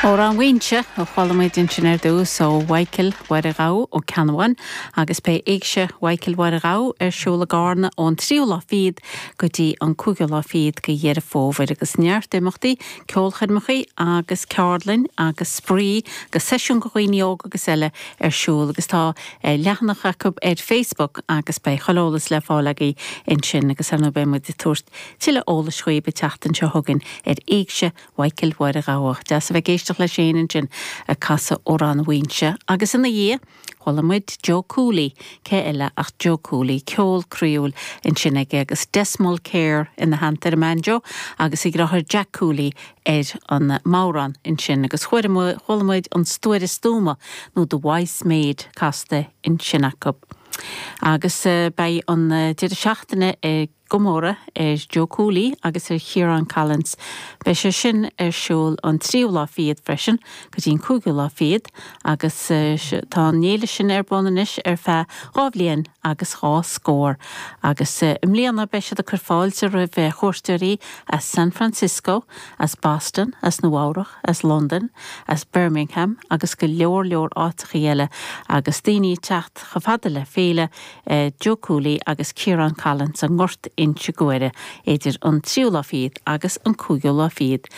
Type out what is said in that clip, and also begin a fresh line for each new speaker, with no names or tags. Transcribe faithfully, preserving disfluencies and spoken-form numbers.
Amhrán Mhaínse a chuala muid ansin ar dtús ó Mhichael Mháire Ghabha ó Ceannabháin agus beidh Éigse Mhichael Mháire Ghabha ar siúl i gCarna ón tríú lá fichead go dtí an cúigiú lá fichead de Dheireadh Fómhair agus neart imeachtaí ceolchoirmeacha agus ceardlann agus spraoi agus seisiún do dhaoine óga agus eile ar siúl agus tá eh, leathanach acu ar Facebook agus beidh chuile eolas le fáil agaibh ansin agus ar beidh muid ag tabhairt tuilleadh eolais daoibh an tseachtain seo chugainn ar Éigse Mhichael Mháire Ghabha. Deas a bheith ag éisteacht le Shane ansin ag casadh Amhrán Mhaínse agus ina dhiaidh chuala muid Joe Cooley cé eile ach Joe Cooley ceol croíúil ansin aige agus Des Mulkere ina theannta ar an mbanjo agus a dheartháir Jack Cooley ar an mbodhrán ansin agus chuala muid an Stuaire Stuama nó The Wise Maid casta ansin acu. Agus uh, beidh an uh, deireadh seachtaine i gcomóradh ar Joe Cooley agus ar Chiarán Collins. Beidh sé sin ar siúl an tríú lá fichead freisin go dtí an cúigiú lá fichead agus uh, tá an fhéile sin ar bun anois ar feadh dhá bhliain agus dhá scór. agus uh, i mbliana beidh siad ag cur fáilte roimh chuairteoirí as San Francisco, as Boston, as Nua-Eabhrac, as London, as Birmingham agus go leor leor áiteacha eile agus daoine teacht chomh fada le féile uh, Joe Cooley agus Ciarán Collins an nGort Inse Guaire idir an tríú lá fichead agus an cúigiú lá fichead